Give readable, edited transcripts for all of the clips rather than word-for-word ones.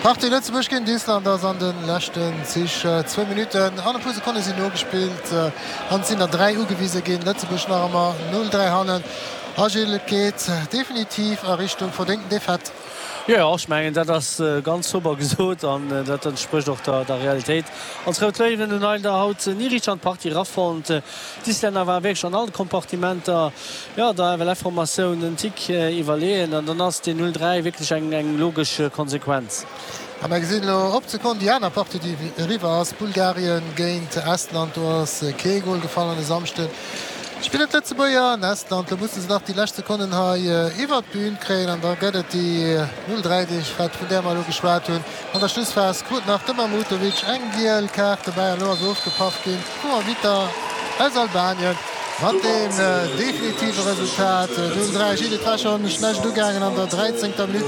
Partie Lëtzebuerg géint Island ass an de leschten Zich. Zwou Minutten an e puer Sekonne sinn nogespillt an et sinn der 3 ugewise ginn. Lëtzebuerg nach ëmmer 0, 3 hannen. A Gilles, et geet definitiv a Richtung verdéngten Defaite. Jo, ech mengen dat ass ganz sober gesot an dat entsprécht och der Realitéit. Ons Rout Léiwen hunn leider haut ni richteg an d'Partie erafonnt. D'Islänner ware wierklech an all Kompartimenter, jo, der FLF-Formatioun en Tick iwwerleeën an dann ass deen 0, 3 wierklech eng logesch Konsequenz. A mer gesinn elo op d'Sekonn déi aner Partie, déi eriwwer ass, Bulgarien géint Estland. Do ass kee Gol gefall an e Samschde spillen d'Lëtzebuerger an Estland. Lo musse se nach déi lescht Sekonnen hei iwwert d'Bün kréien an da gëtt et déi 0, 3 Defaite, vun där mer elo geschwat hunn. An der Schlussphas krut nach de Mahmutovic eng giel Kaart dobäi an elo ass ofgepaff ginn vum Arbitter aus Albanien mat deem definitive Resultat 0, 3. Gilles, et war schonn schlecht ugaangen, an der 13. Minutt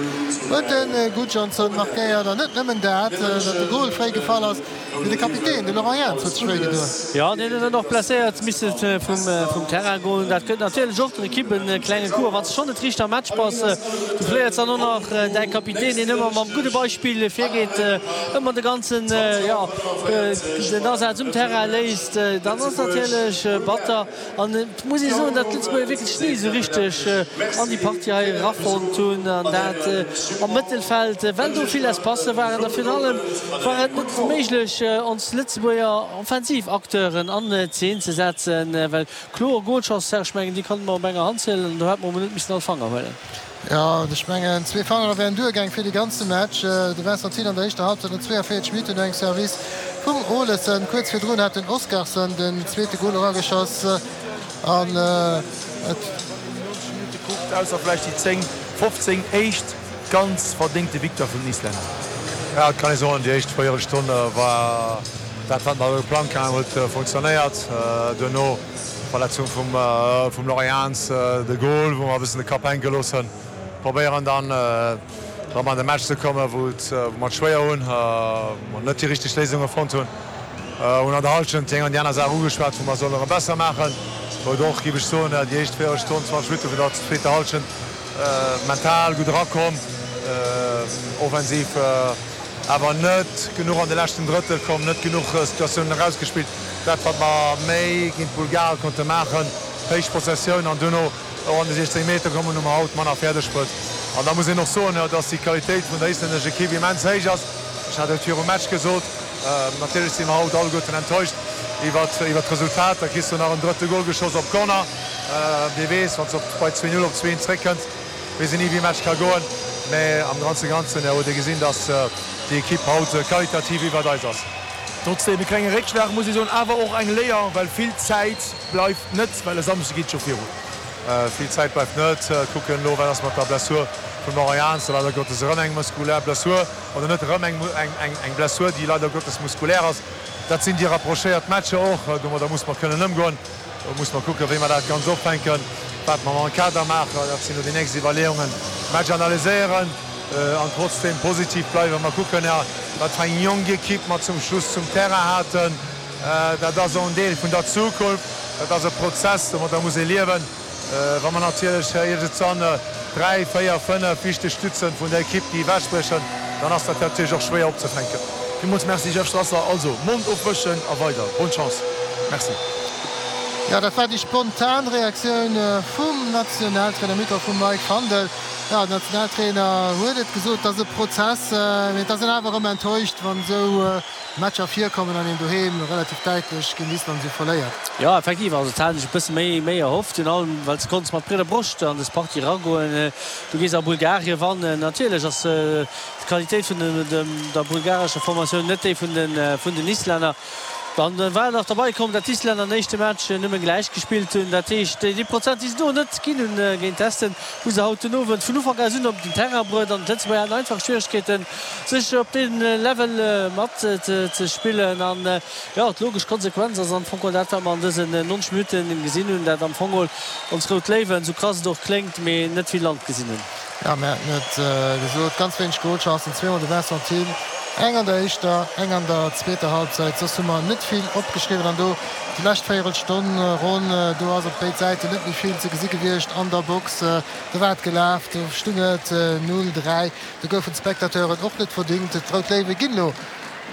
huet de Gudjohnsen markéiert an net nëmmen dat, datt de Gol fréi gefall ass. Mee de Kapitän, de Laurent Jans, huet sech wéi gedoen. Jo, deen huet dann och blesséiert misse vum Terrain goen. Dat gëtt natierlech och der Ekipp e klenge Coup. A wann s de schonn net riicht am Match bass, du verléiers dann och nach däi Kapitän, deen ëmmer mam gudde Beispill virgeet, ëmmer de ganzen, jo, den Asaz um Terrain léisst, dann ass natierlech batter. An et muss ee soen, datt d'Lëtzebuerger wierklech ni esou richteg an déi Partie hei erafonnt hunn, an dat am Mëttelfeld, well do vill Espacë waren. A virun allem war et net méiglech, ons Lëtzebuerger offensiv Acteuren an Zeen ze setzen, well kloer Golchancen, Serge, ech mengen, déi konnte mer op enger Hand zielen an do hätte mer emol net missen all Fanger huelen. Jo, ech mengen zwee Fanger wären duergaang fir de ganze Match. De Vincent Thill an der éischter Halbzeit no 42 Minutten no engem Service vum Olesen. Kuerz virdrun hat den Oskarsson den zweete Gol erageschoss an et. 90 Minutte kuckt, ausser vläicht déi 10, 15 éischt, ganz verdéngte Victoire vun den Islänner. Jo, et kann ee soen, déi éischt Véierelstonn war dat, wat mer geplangt haten, huet funktionéiert. Duerno D'Verletzung vum Laurent Jans, de Gol, wou mer e bëssen de Kapp hänke gelooss hunn. Probéieren dann erëm an de Match ze kommen, wou mer et schwéier hunn, wou mer net déi richteg Léisunge fonnt hunn. Hunn an der Hallschent déi eng an déi aner Saach ugeschwat, wou mer sollen erëm besser maachen. Wou et och, géif ech soen, déi éischt Véierelstonn, 20 Minutte vun der zweeter Hallschent mental gutt erakomm, offensiv awer net genuch an de leschten Drëttel komm, net genuch Situatiounen erausgespillt. Dat wat mer méi géint d'Bulgare konnte maachen, héich Possessioun an duerno och an de 16 Meter kommen, hu mer haut manner fäerdeg bruet. An da muss een och soen, dass déi Qualitéit vun der islännescher Ekipp immens héich ass. Ech hat et virum Match gesot, natierlech si mer haut alleguerten enttäuscht iwwert d'Resultat. Da kriss du nach en drëtte Gol geschoss op Corner. Wie weess, wann s de bei 2, 0 op 2, 1 zréckkënns, weess een ni wéi e Match ka goen. Mä am Ganze Ganzen huet ee gesinn, dass déi Ekipp haut qualitativ iwwert eis ass. Trotzdem e klenge Réckschlag muss ee soen, awer och eng Léier, well vill Zäit bleift net, well e Samschde geet scho virun. Vill Zäit bleift net. Kucken elo, wat ass mat der Blessur vum Laurent Jans, leider Gottes erëm eng muskulär Blessur, oder net erëm eng Blessur, déi leider Gottes muskulär ass. Dat sinn déi rapprochéiert Matcher och, domadder muss mer kënnen ëmgoen. Do muss mer kucken, wéi mer dat Ganzt opfänken, wat mer mam Kader maachen. Dat sinn elo déi nächst Iwwerleeungen. Match analyséieren an trotzdeem positiv bleiwen. Mer kucken, wat fir eng jonk Ekipp mer zum Schluss zum Terrain haten. Dat ass och en Deel vun der Zukunft. Dat ass e Prozess, domadder muss ee liewen. Wa mer natierlech iergendwann dräi, véier, fënnef wichteg Stützen vun der Ekipp, déi ewechbriechen, dann ass dat natierlech och schwéier opzefänken. Villmools Merci Jeff Strasser. Also Mond ofwëschen a weider. Bonne Chance. Merci. Jo, dat war déi spontan Reaktioun vum Nationaltrainer Mikro vum Mike Fandel. Jo, den Nationaltrainer huet et gesot, et ass e Prozess, mee et ass een awer erëm enttäuscht, wann esou Matcher virkommen an een doheem relativ däitlech géint Island esou verléiert. Jo, effektiv, also et hat een sech e bësse méi méi erhofft, virun allem well s de konns mat breeder Broscht an dës Partie eragoen. Du gees a Bulgarien wannen, natierlech ass d'Qualitéit vun der bulgarescher Formatioun net déi vun den Islänner. Dann war nach derbei komm, dat d'Islänner den éischte Match nëmme gläich gespillt hunn. Dat heescht, déi Prozent, déi se do net ginn hunn géint d'Esten, hu se haut den Owend vun Ufank aus un op den Terrain bruet. An d'Lëtzebuerger haten einfach Schwieregkeeten, sech op deem Level mat ze spillen. An jo, d'logesch Konsequenz ass am Fong dat, wat mer an dësen 90 Minutte gesinn hunn, dat am Fong ons Rout Léiwen, sou krass et och kléngt, mee net vill Land gesinn hunn. Jo, mir haten et gesot, ganz wéineg Golchancen, zweemol de Vincent Thill. Eng an der éischter, eng an der zweeter Halbzeit. Soss hu mer net vill opgeschriwwen. An do déi lescht Véierelstonn ronn, do ass op béid Säiten net méi vill ze gesi gewiescht an der Box. Do war et gelaf, do stung et 0, 3. Do goufen d'Spectateuren och net verdingt. D'Rout Léiwe ginn elo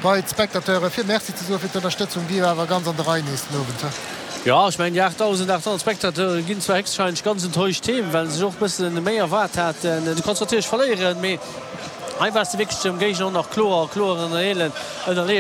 bei d'Spectateure fir Merci ze soe fir d'Ënnerstëtzung. Déi war awer ganz an der Rei nees den Owend. Jo, ech mengen déi 8.800 Spectateure ginn zwar héchstwahrscheinlech ganz enttäuscht heem, well se sech och e bësse méi erwaart haten. Du kanns natierlech verléieren, mee hei waars de wierklech dem Géigner och nach kloer, kloer ënnerleeën, ënnerleeën.